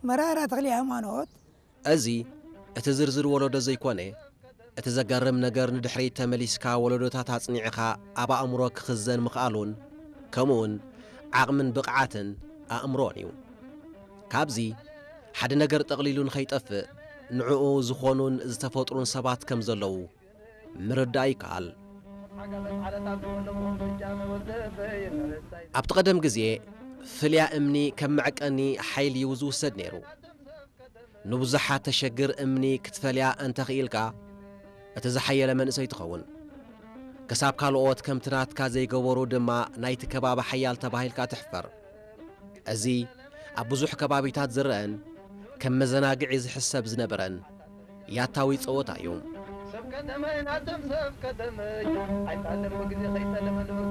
መራራ ተኽሊ ሃይማኖት። እዚ እቲ ዝርዝር ወለዶ ዘይኮነ፣ እቲ ዘገርም ነገር ንድሕሪት ተመሊስካ ወለዶታት ኣጽኒዕኻ ኣብ ኣእምሮ ክኽዘን ምኽኣሉን፣ ከምኡውን ዓቕምን ብቕዓትን ኣእምሮን እዩ። ካብዚ ሓደ ነገር ጠቕሊሉ ንኸይጠፍእ ንዕኡ ዝኾኑን ዝተፈጥሩን ሰባት ከም ዘለዉ ምርዳእ ይከኣል። ኣብቲ ቀደም ግዜ ፍልያ እምኒ ከም መዕቀኒ ሓይሊ እዩ ዝውሰድ ነይሩ። ንብዙሓት ተሸግር እምኒ ክትፈልያ እንተኽኢልካ እቲ ዝሓየለ መንእሰይ ትኸውን። ክሳብ ካልኦት ከምቲ ናትካ ዘይገበሩ ድማ ናይቲ ከባቢ ሓያል ተባሂልካ ትሕፈር። እዚ ኣብ ብዙሕ ከባቢታት ዝረአን ከም መዘናግዒ ዝሕሰብ ዝነበረን ያታዊ ጸወታ እዩ። ሰብ ከተመይ ናቶም ሰብ ከተመይ ኣይፋለም ብግዜ ከይጠለመ